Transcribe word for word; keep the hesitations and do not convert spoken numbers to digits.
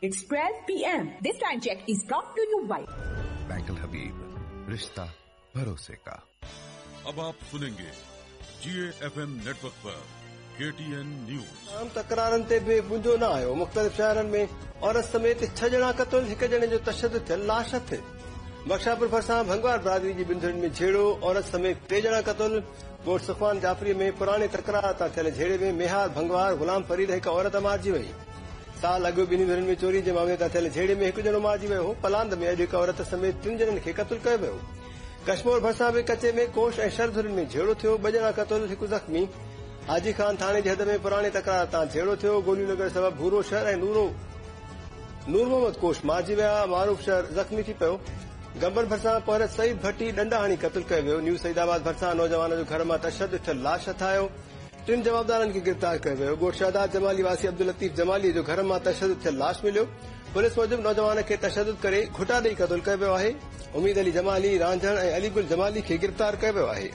It's twelve P M. This time check is brought to you by Bank Al Habib, रिश्ता भरोसे का। अब आप सुनेंगे जी एफ एम नेटवर्क पर के टी एन न्यूज़। आम तकरारनि ते बि मुंहिंजो न आयो। मुख़्तलिफ़ शहरनि में औरत समेत छह ॼणा क़तल, हिकु ॼणे जो तशद्दुद थियल लाश हथु। बख्शापुर भरिसां भंगवार बिरादरी जी ॿिनि धुरियुनि में झेड़ो, औरत समेत टे ॼणा क़तल। ॻोठ सुखवान जाफ़री में पुराणे तकरार तां थियल झेड़े में मेहार भंगवार ग़ुलाम फरीद हिकु औरत मारिजी वई। साल अॻु ॿिन्ही धुरियुनि में चोरी जे मामले तां थियल झेड़े में हिकु ॼणो मारिजी वियो हो। पलांद में अॼु हिकु औरत समेत टिनि ॼणनि खे क़तल कयो वियो। कश्मोर भरिसां बि कचे में कोश ऐं शर धुरियुनि में झेड़ो थियो, ॿ ॼणा क़तल, हिकु ज़ख़्मी। हाजी खान थाणे जी हद में पुराणे तकरार तां झेड़ो थियो, गोलियूं लॻण सबबि भूरो शर ऐं नूरो नूर मोहम्मद कोश मारिजी विया, मारूफ़ शर ज़ख़्मी थी पियो। गंबन भरिसां पोहरत सईद भट्टी ॾंडा हणी क़तल कयो वियो। न्यू सईदाबाद भरिसां नौजवान जो घर मां तशद्दुद थियल लाश हथ आयो, टिनि जवाबदारनि खे गिरफ़्तार कयो वियो। ॻोठ शहदाद जमाली वासी अब्दुल लतीफ़ जमाली जो घर मां तशद्दुद थियल लाश मिलियो। पुलिस मूजिबि नौजवान खे तशद्दुद करे घुटा ॾेई क़तल कयो वियो आहे। उमीद अली जमाली, रांझण ऐं अली गुल जमाली खे गिरफ़्तार कयो वियो आहे।